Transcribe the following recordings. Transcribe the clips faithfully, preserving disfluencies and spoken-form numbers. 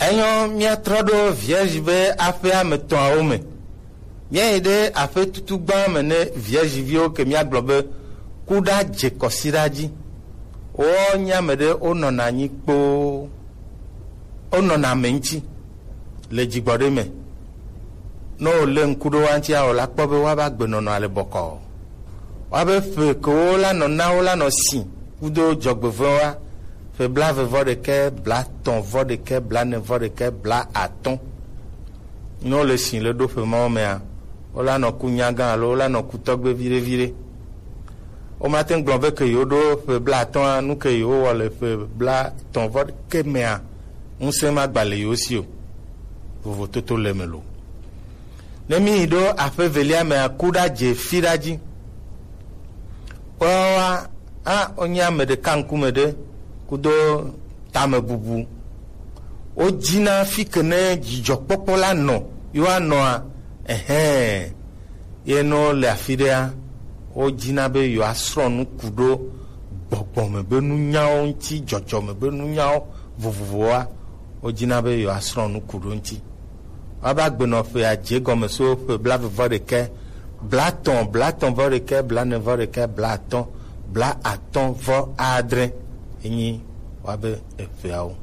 Enyɔ, míatrɔ ɖo Vierge be aƒe ame etɔ̃awo me. Míayi ɖe aƒe tutugba me ne Vierge viwo ke míagblɔ be kuɖa dze kɔsiɖa dzi. Wonya ame ɖe wonɔna anyi kpoo. Wonɔna ame ŋuti le dzigbɔɖi me. Ne wòlé ŋku ɖe woa ŋutia, wòla kpɔ be woava gbenɔnɔa le bɔkɔɔ. Woabe ƒe ke wola nɔ na wola nɔ si kudo dzɔgbevɔ̃e wa, ƒe blaeve vɔ ɖekɛ, blaetɔ̃ vɔ ɖekɛ, blaene vɔ ɖekɛ, blaatɔ̃. Ne wole si le ɖo ƒe mawo mea, wola nɔ ku nyagã alo wola nɔ ku tɔgbe viɖe viɖe. Womate ŋu gblɔ be ke yewo ɖo ƒe blaatɔ̃a, nu ke yewo wɔ le ƒe blaetɔ̃ vɔ ɖekɛ mea, ŋusẽ ma gba le yewo si o. Vovototo le me lo. Ne mi yi ɖo aƒe velia mea, kuɖa dze fiɖa dzi. Woawoa, a, wonye ame ɖeka ŋkume ɖe kudo tamebubu. Wodzina fi ke ne dzidzɔkpɔkpɔ la nɔ, yewoanɔa, ɛhɛ̃, ye ne wole afi ɖea, wodzina be yewoasrɔ̃ nu ku ɖo gbɔgbɔ me be nunyawo ŋuti, dzɔdzɔme be nunyawo vovovowoa, wodzina be yewoasrɔ̃ nu ku ɖo ŋuti. Woava gbenɔ ƒe adze gɔme so ƒe blaeve vɔ ɖekɛ, blaetɔ̃, blaetɔ̃ vɔ ɖekɛ, blaene vɔ ɖekɛ, blaatɔ̃, blaatɔ̃ vɔ adre. Enyi woabe eƒeawo.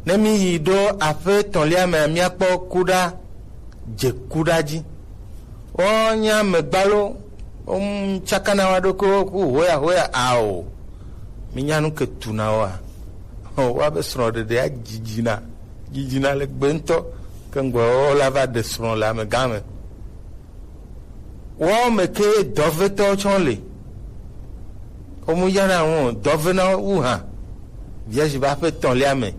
Ne mi yi ɖo aƒe etɔ̃lia mea, míakpɔ kuɖa dze kuɖa dzi. Wonya megbalo, wom tsakana wa ɖokuiwo ku hoya hoya ao. Minya nu ke tuna woa? Woabe srɔ̃ɖeɖea dzidzina, dzidzina le gbe ŋutɔ, ke ŋgbe wola va ɖe srɔ̃ le amegã me. Woawo me ke dɔvetɔwo tsɔ le. Womu yana ŋu o, dɔvena wu hã. Vierge be aƒe etɔ̃lia me.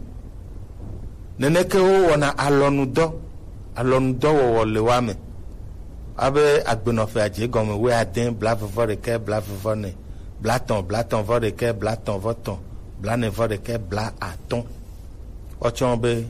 Neneke wowɔna alɔnudɔ, alɔnudɔwɔwɔ le woa me. Abe agbenɔƒe adze gɔme wuiade, blaeve vɔ ɖekɛ, blaeve vɔ ene, blaetɔ̃, blaetɔ̃ vɔ ɖekɛ, blaetɔ̃ vɔ etɔ̃, blaene vɔ ɖekɛ, blaatɔ̃. Wotsɔ be